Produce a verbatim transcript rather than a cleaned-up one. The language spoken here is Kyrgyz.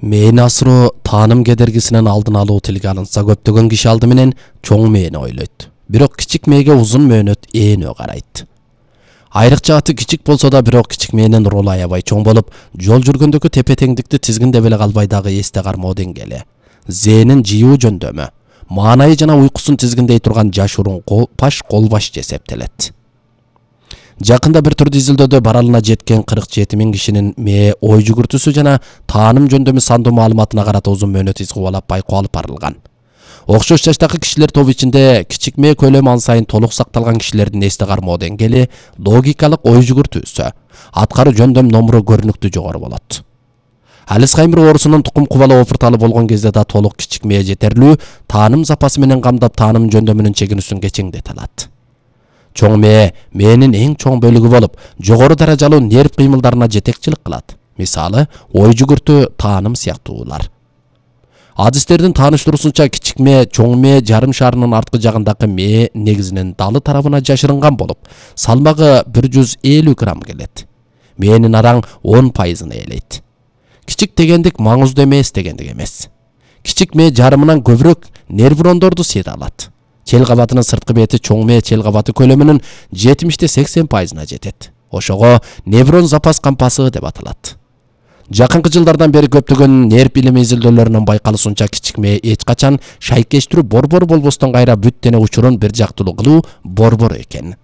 Мээни асыроо тааным кедергисинен алдын алуу тилге алынса, көптөгөн киши алды менен чоң мээни ойлойт. Бирок кичик мээге узун мөөнөт ээнөө карайт. Айрыкча аты кичик болсо да, бирок кичик мээнин ролу аябай чоң болуп, жол жүргөндөгү тепе-теңдикти тизгиндеп эле калбай дагы эсте кармоо деңгээли. Зээнин жыйуу жөндөмү, маанайы жана уйкусун тизгиндей турган жашыруун паш колбаш эсептелет. Жакында бир түрдүү изилдөөдө баралына жеткен кырк жети миң кишинин мээ ой жүгүртүүсү жана тааным жөндөмү сандуу маалыматына карата узун мөөнөт из кубалап байкоо алып барылган. Окшош жаштагы кишилер тобу ичинде кичик мээ көлөмү ан сайын толук сакталган кишилердин эсте кармоо деңгээли, логикалык ой жүгүртүүсү, аткаруу жөндөм номуру көрүнүктүү жогору болот. Алцхаймер оорусунун тукум кубалоо опурталы болгон кезде да толук кичик мээ жетерлүү тааным запасы менен камдап тааным жөндөмүнүн чегинүүсүн кечеңдете алат. Чоң мээ мээнин эң чоң бөлүгү болуп, жогору даражалуу нерв кыймылдарына жетекчилик кылат. Мисалы, ой жүгүртүү, тааным сыяктуулар. Адистердин тааныштыруусунча, кичик мээ чоң мээ жарым шарынын арткы жагындагы мээ негизинин далы тарабына жашырынган болуп, салмагы бир жүз элүү грамм келет. Мээнин араң он пайызын ээлейт. Кичик дегендик маңыздуу эмес дегендик эмес. Кичик мээ жарымынан көбүрөөк нерврондорду сыйра алат. Чел кабатынын сырткы бети чоң мээ чел кабаты көлөмүнүн жетимиште сексен пайызына жетет. Ошого неврон запас кампасы деп аталат. Жакынкы жылдардан бери көптөгөн нерв билими изилдөөлөрүнүн байкалышынча, кичик мээ эч качан шайкештирүү борбор болбостон кайра бүт дене учурун бир жактылуу кылуу борбор экен.